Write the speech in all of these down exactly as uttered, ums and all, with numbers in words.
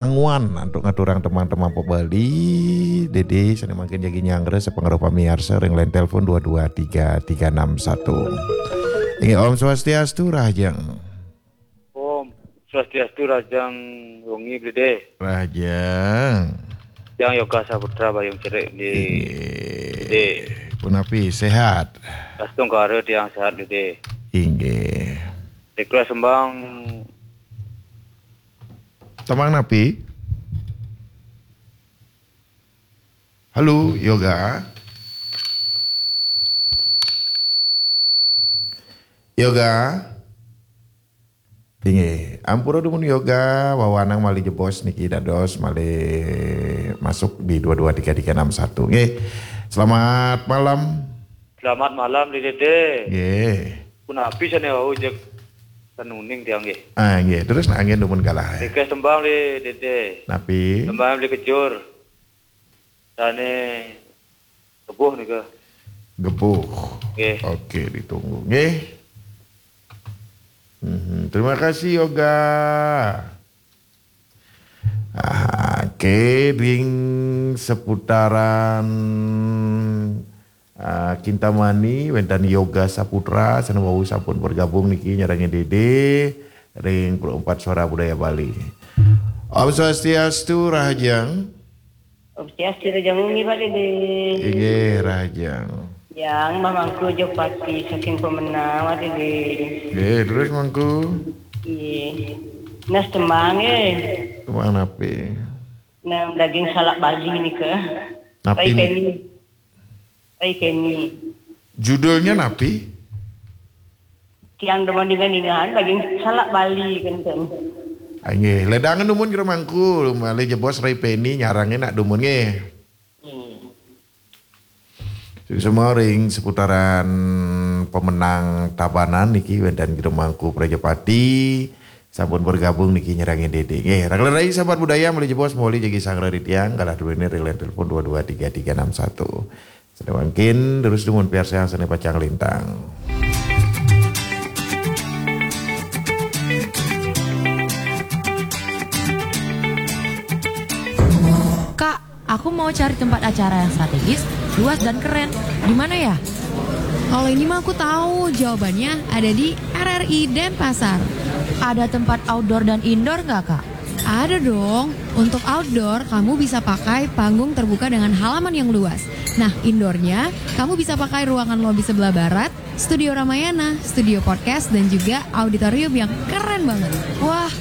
Angwan untuk ngaturang temang-temang pabali, Dede, sané mangkin jagi nyanggra sapangrauh pamiarsa ring line telepon dua dua tiga tiga enam satu. Inggih, Om Swastiastu, rahajeng. Om Swastiastu, rahajeng wengi, Dede. Rahajeng. Jang Yoga Saputra Bayung Cerik, Dede. Inggih. Dede. Punapi, sehat? Astungkara tiang sehat, Dede. Inggih. Request tembang. Tembang napi? Halo, Yoga? Yoga? Inggih, ampura dumun Yoga, wawanang malih jebos niki dados malih masuk di dua dua tiga tiga enam satu. Nggih. Selamat malam. Selamat malam, Dede. Nggih. Punapi sané wau jeg sanuning tiang nggih. Ah, nggih. Terus nak angin dumun galah. Request tembang, Dede. Napi? Tembang Beli Kejur. Sané Gebuh nika. Gebuh. Nggih. Oke, ditunggu. Nggih. Mhm. Terima kasih, Yoga. Ah, oke, ring seputaran, ah, Kintamani, wénten Yoga Saputra, sané wau sampun bergabung niki nyarengin Dede ring Pro Empat Suara Budaya Bali. Om Swastiastu, rahajeng. Om Swastiastu, rahajeng wengi, Pak Dede. Inggih, rahajeng. Yang Mamangku Jopati saking Pemenang, Pak Dede. Nggih, terus Mangku? Nggih. Nah, tembang, nggih. Tembang napi? Nah, daging salak Bali nika. Napi? Rai Kenny. Rai Kenny. Judulnya napi? Tiang demen dingeh-dingehan daging salak Bali kenten. Ah, nggih, ledangan dumun kira Mangku, malih jebos Rai Penny nyarengin nak dumun nggih. Hmm. Semua ring seputaran Pemenang Tabanan niki wénten kira Mangku Prajapati sampun bergabung niki nyarengin Dede. Nggih, Ragil Rai sahabat budaya malih jebos malih jagi sanggra ri tiang galah duene ring line telepon dua dua tiga tiga enam satu. Sané mangkin terus dumun piarsayang sané pacang lintang. Kak, aku mau cari tempat acara yang strategis, luas dan keren. Di mana ya? Kalau ini mah aku tahu, jawabannya ada di R R I Denpasar. Ada tempat outdoor dan indoor nggak, Kak? Ada dong. Untuk outdoor, kamu bisa pakai panggung terbuka dengan halaman yang luas. Nah, indoornya, kamu bisa pakai ruangan lobi sebelah barat, studio Ramayana, studio podcast, dan juga auditorium yang keren banget. Wah,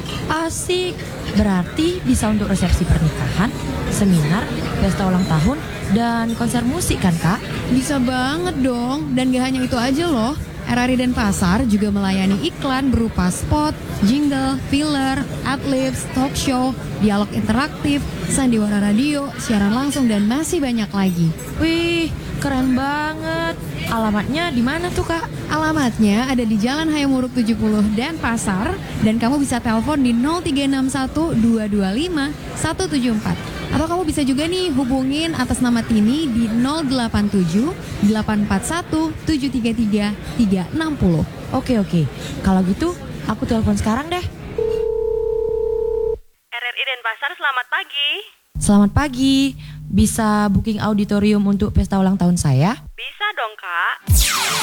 asik. Berarti bisa untuk resepsi pernikahan, seminar, pesta ulang tahun, dan konser musik kan, Kak? Bisa banget dong. Dan gak hanya itu aja loh. R R I Denpasar juga melayani iklan berupa spot, jingle, filler, adlibs, talk show, dialog interaktif, sandiwara radio, siaran langsung, dan masih banyak lagi. Wih, keren banget. Alamatnya di mana tuh, Kak? Alamatnya ada di Jalan Hayam Wuruk tujuh puluh Denpasar, dan kamu bisa telepon di nol tiga enam satu dua dua lima satu tujuh empat. Atau kamu bisa juga nih hubungin atas nama Tini di nol delapan tujuh delapan empat satu tujuh tiga tiga tiga enam nol. Oke, oke. Kalau gitu, aku telepon sekarang deh. R R I Denpasar, selamat pagi. Selamat pagi. Bisa booking auditorium untuk pesta ulang tahun saya? Bisa dong, Kak.